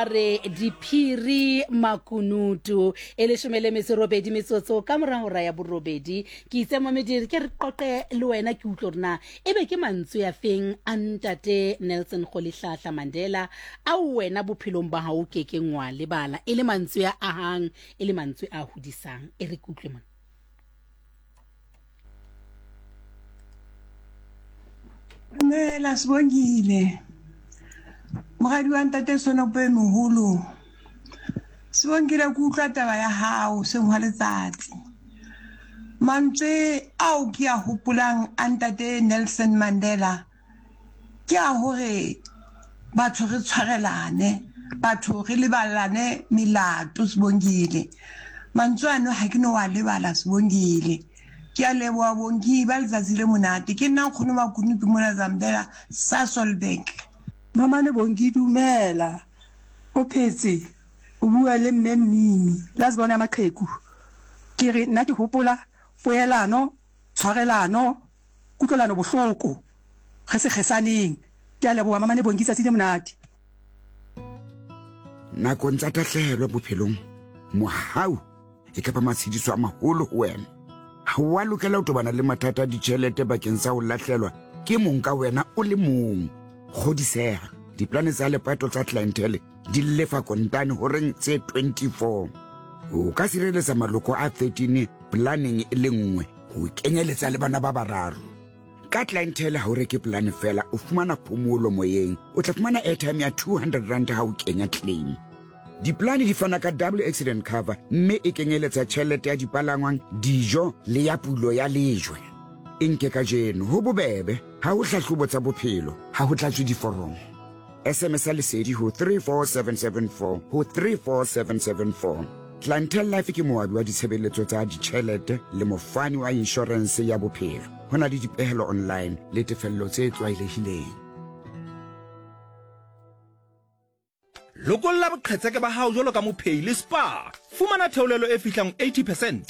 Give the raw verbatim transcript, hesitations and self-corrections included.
Re diphiri makunutu e leshome le metso e robedi metsotso ka mora hora ya borobedi. Ke itse momediri ke re qoqe le wena, ke utlwe hore na ebe ke mantswe a feng a ntate Nelson Rolihlahla Mandela ao wena bophelong ba hao o kekeng wa lebala, e le mantswe a ahang, e le mantswe a hodisang. E re ke utlwe mona. Dumela Sibongile. Moradi wa ntate Sonopo e moholo. Sibongile ke utlwa taba ya hao seng hwa letsatsi. Mantswe ao ke a hopolang a ntate Nelson Mandela ke a hore batho re tshwarelane, batho re lebalane melato Sibongile. Mantswe ano ha ke no wa lebala Sibongile. Ke a leboha Bongi, ba letsatsi le monate. Ke nna nkgono Makunutu mona Zambela, Sasolburg. Mamane Bongi dumela o phetse o bua le mme Mmimi last born ya maqheku ke re nna ke hopola poelano tshwarelano kutlwelano bohloko re se kgesaneng ke a leboha Mamane Bongi tsatsi le monate. Nakong tsa tahlehelo bophelong, mohau e ka ba matshediso a maholo ho wena. Ha o a lokela ho tobana le mathata a ditjhelete bakeng sa ho lahlelwa ke mong ka wena o le mong. Kgodiseha, diplane tsa lepato tsa Clientele di lefa kontane horeng tse twenty-four. O ka sireletsa maloko a thirteen planeng e le nngwe, ho kenyeletsa le bana ba bararo. Ka Clientele ha o reke polane feela, o fumana phomolo moyeng. O tla fumana airtime ya two hundred rand ha o kenya claim. Diplane di fana ka double accident cover mme e kenyeletsa tjhelete ya dipalangwang, dijo le ya pulo ya lejwe. E nke kajeno, ho bobebe, ha ho hlahlobo tsa bophelo, ha ho tlatswe diforomo. S M S ya lesedi ho three four seven seven four ho three four seven seven four. Clientele Life ke moabi wa ditshebeletso tsa ditjhelete le mofani wa inshorense ya bophelo. Ho na le dipehelo online le tefello tse tlwaelehileng. Lokolla boqhetseke ba hao jwalo ka mophehi le Spar. Fumana theolelo e fihlang eighty percent